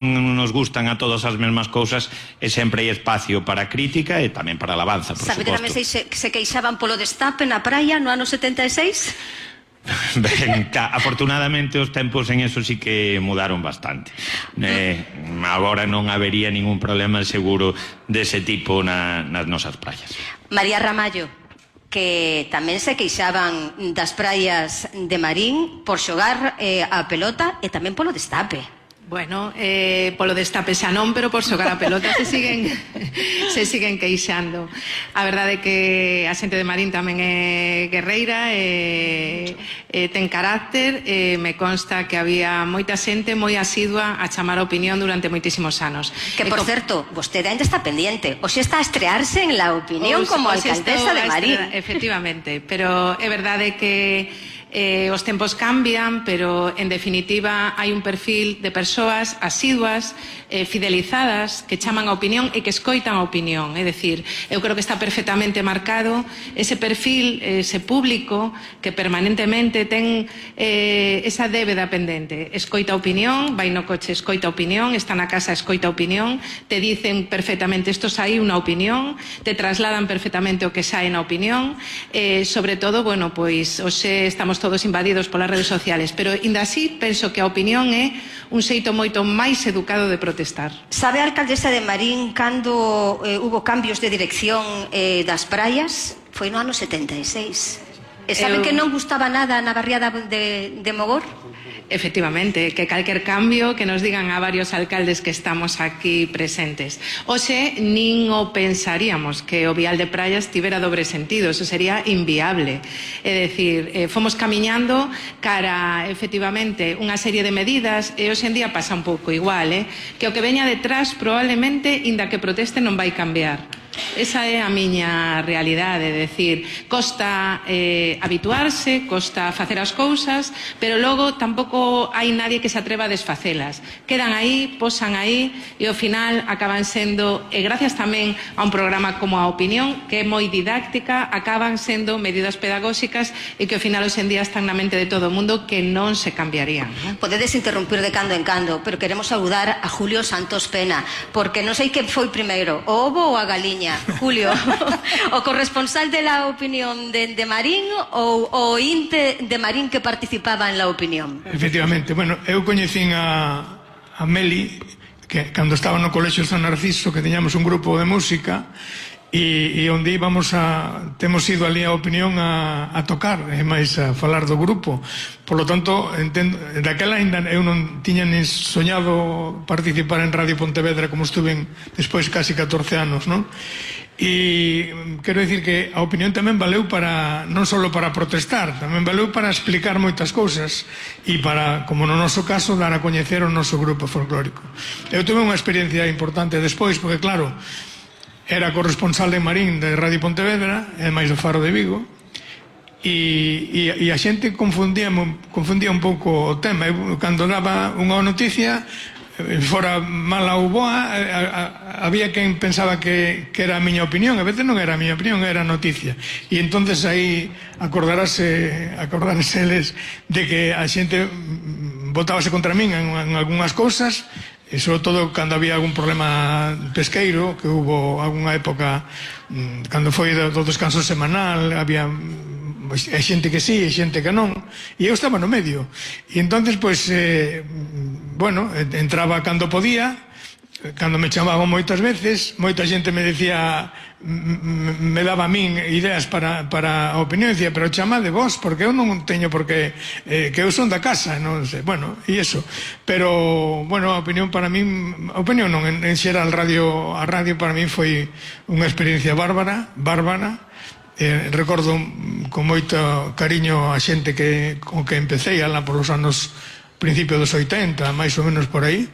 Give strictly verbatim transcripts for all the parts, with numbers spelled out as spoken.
nos gustan a todas as mesmas cousas e sempre hai espacio para crítica e tamén para alabanza, por Sabe suposto. que tamén se, se queixaban polo destape na praia no ano setenta e seis? Ben, afortunadamente os tempos en eso sí que mudaron bastante. Eh, agora non habería ningún problema seguro dese tipo na, nas nosas praias. María Ramallo, que tamén se queixaban das praias de Marín por xogar eh, a pelota e tamén polo destape. Bueno, eh, polo destape xa non, pero por xogar a pelota se siguen se siguen queixando. A verdade é que a xente de Marín tamén é guerreira e, e ten carácter e me consta que había moita xente moi asidua a chamar a opinión durante moitísimos anos. Que, por certo, vostede ainda está pendiente. Oxe está a estrearse en la opinión Os, como os alcaldesa de Marín. Efectivamente, pero é verdade que Eh, os tempos cambian, pero en definitiva hai un perfil de persoas asiduas, eh, fidelizadas, que chaman a opinión e que escoitan a opinión. É dicir, eu creo que está perfectamente marcado ese perfil, ese público que permanentemente ten eh, esa débeda pendente. Escoita a opinión, vai no coche, escoita a opinión, está na casa, escoita a opinión, te dicen perfectamente isto saí unha opinión, te trasladan perfectamente o que sae na opinión, eh, sobre todo, bueno, pois hoxe estamos todos invadidos polas redes sociales, pero ainda así penso que a opinión é un xeito moito máis educado de protestar. Sabe a alcaldesa de Marín cando eh, hubo cambios de dirección eh, das praias? Foi no ano setenta e seis. E sabe Eu... que non gustaba nada na barriada de, de Mogor? Efectivamente, que calquer cambio que nos digan a varios alcaldes que estamos aquí presentes. Oxe, nin o pensaríamos que o vial de praias tivera dobre sentido, eso sería inviable. É dicir, eh, fomos camiñando cara, efectivamente, unha serie de medidas e hoxe en día pasa un pouco igual, eh? que o que veña detrás probablemente, inda que proteste, non vai cambiar. Esa é a miña realidade, é dicir, costa eh, habituarse, costa facer as cousas, pero logo tampouco hai nadie que se atreva a desfacelas. Quedan aí, posan aí e ao final acaban sendo, e gracias tamén a un programa como a Opinión, que é moi didáctica, acaban sendo medidas pedagóxicas e que ao final hoxe en día están na mente de todo o mundo que non se cambiarían. ¿No? Podedes interrumpir de cando en cando, pero queremos saudar a Julio Santos Pena, porque non sei que foi primeiro, o ovo ou a galiña. Julio, o corresponsal de La Opinión de, de Marín ou o inte de Marín que participaba en La Opinión? Efectivamente, bueno, eu coñecín a, a Meli que cando estaba no Colexio San Narciso, que teñamos un grupo de música e, e onde íbamos a temos ido ali a Opinión a, a tocar e máis a falar do grupo. Por lo tanto, entendo, daquela ainda eu non tiña nin soñado participar en Radio Pontevedra como estuve despois casi catorce anos, non? E quero dicir que a opinión tamén valeu para non só para protestar, tamén valeu para explicar moitas cousas e para, como no noso caso, dar a coñecer o noso grupo folclórico. Eu tuve unha experiencia importante despois, porque claro, era corresponsal de Marín de Radio Pontevedra e máis do Faro de Vigo. E, e, e a xente confundía, confundía un pouco o tema. Eu, cando daba unha noticia, fora mala ou boa, a, a, había quen pensaba que, que era a miña opinión. A veces non era a miña opinión, era a noticia. E entonces aí acordarase acordarase eles de que a xente votábase contra min en, en algunhas cousas, e sobre todo cando había algún problema pesqueiro, que hubo algunha época cando foi do, do descanso semanal, había é xente que sí, é xente que non, e eu estaba no medio. E entonces, pois, eh, bueno, entraba cando podía, cando me chamaban moitas veces, moita xente me decía, me daba a min ideas para, para a opinión, e dicía, pero chamade vos, porque eu non teño por que, eh, que eu son da casa, non sei, bueno, e iso. Pero, bueno, a opinión para min, a opinión non, en, en xeral radio, a radio para min foi unha experiencia bárbara, bárbara. Eh, recordo con moito cariño a xente que, con que empecé alá por os anos principios dos oitenta, máis ou menos por aí.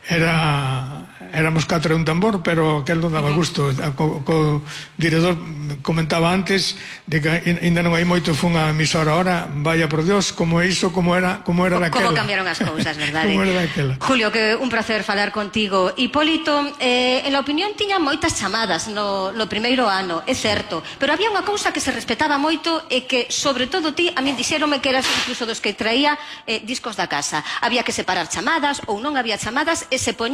Era, éramos catro e un tambor, pero aquel non daba gusto. Co, co director comentaba antes de que ainda non hai moito, foi unha emisora ahora, vaya por Dios, como é iso, como era, como era daquela. Como cambiaron as cousas, verdade? Como era daquela. Julio, que un placer falar contigo. Hipólito, eh, en La Opinión tiña moitas chamadas no, no primeiro ano, é certo, pero había unha cousa que se respetaba moito e que, sobre todo ti, a min dixéronme que eras incluso dos que traía eh, discos da casa. Había que separar chamadas ou non había chamadas, e que se poñía